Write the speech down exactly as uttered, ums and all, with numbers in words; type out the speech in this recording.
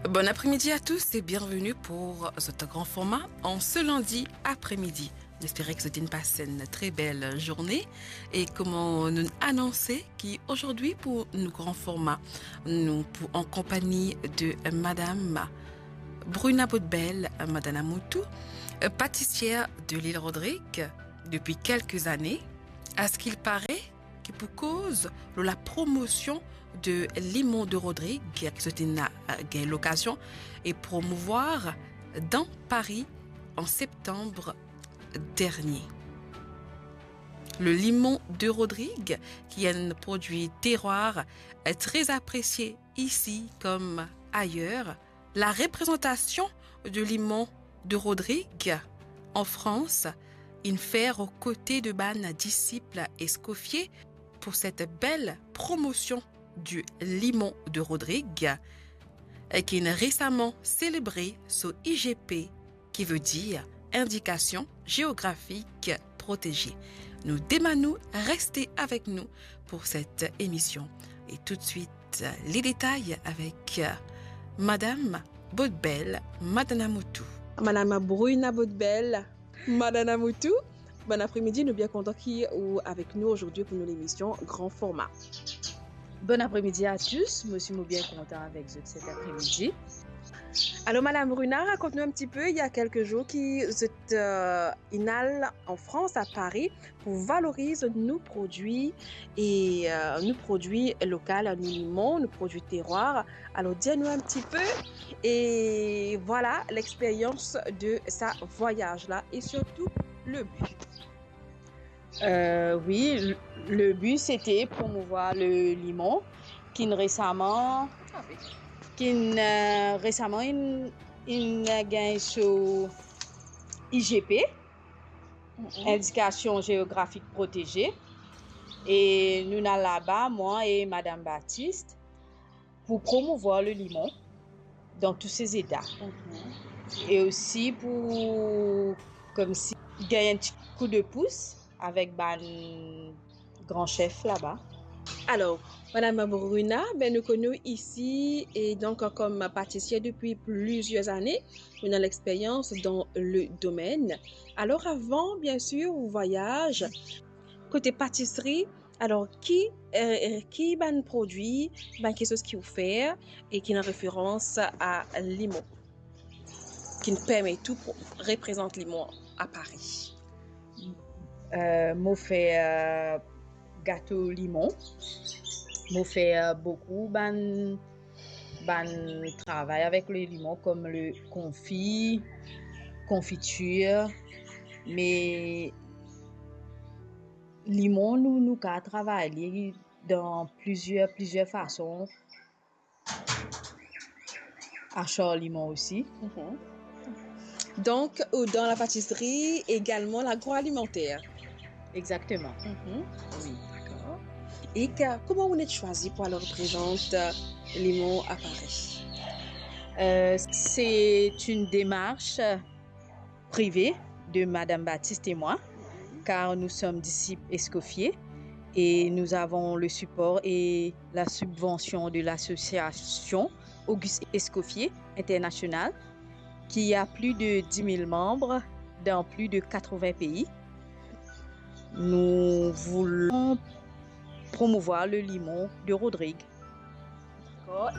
Bon apremidi a tous e bienveni pou zot gran forma an se landi apremidi. Nou espere ki zot inn pas enn tre bel zourne e kouma nou anonse ki azordi pou nou gran forma, nou pou an konpagni de madam Bruna Bodbel Madanamoutou, patisier de Lil Rodrig depi kelke zane. A ce qu'il paraît, ki pou koz lor la promosion de limon de Rodrig, ki zot inn gagn lokazion e promouvwar dan Pari an septanm dernie. Le limon de Rodrig, ki enn prodwi terwar tre apresie isi kom ayer. La reprezantasion de limon de Rodrig an Frans inn fer o kote de bann disip Escoffier pou set bel promosion du limon de Rodrig, ki inn resaman selebre so I G P, ki ve dir Indikasion Geografik Proteze. Nou demann ou reste avek nou pou set emision. E toutswit, le detay avek madam Bodbel Madanamoutou. Madam Bruna Bodbel Madanamoutou, bon apremidi, nou bien kontan ki ou avek nou azordi pou nou lemision Gran Forma. Bon apremidi a tous, mo osi mo bien kontan avek zot set apremidi. Alor, madam Bruna, rakont nou enn ti pe, il y a quelques jours ki zot, euh, inn al an Frans, a Pari, pou valoriz nou prodwi e, euh, nou prodwi lokal, nou limon, nou prodwi terwar. Alor, dir nou enn ti pe, e vwala, lexperyans de sa vwayaz la, e sirtou le bi. Euh, wi, le, le bi, sete promouvwar le limon, ki'nn resaman, ki'nn, euh, resaman inn, inn gagn so I G P, Indikasion Geografik Proteze. E nou inn al laba, mwa e madam Baptiste, pou promouvwar le limon dan tou se zeta. E osi pou, koumsi, gagn enn ti kou de pous avek bann gran sef laba. Alor, madam Bruna, ben, nou konn ou isi, e donk, kom patisier depi plizier zane, ou ena lexperyans dan le domenn. Alor, avan, biensir, ou vwayaz kote patisri, alor, ki, euh, euh, ki bann prodwi, bann kiksoz ki ou fer, e ki ena referans a limon, ki'nn permet ou pou reprezant limon a Pari? Euh, mo fer, euh, gato limon. Mo fer, euh, boukou bann, bann travay avek le limon, kom le konfi, konfitir. Me limon, nou, nou kapav travay li dan plizier, plizier fason. Achar limon osi. Mhm. Donk, ou dan la patisri, egalman lagroalimanter. Exactement. Mhm. Wi. Dakor. E ka-, kouma ou inn swazir pou al reprezant, euh, limon a Pari? Euh, c'est une démarche privée de Madame Baptiste et moi, car nous sommes disciples Escoffier et nous avons le support et la subvention de l'association Auguste Escoffier International, qui a plus de dix mille membres dans plus de quatre-vingts pays. Nous voulons promouvoir le limon de Rodrig. Dakor.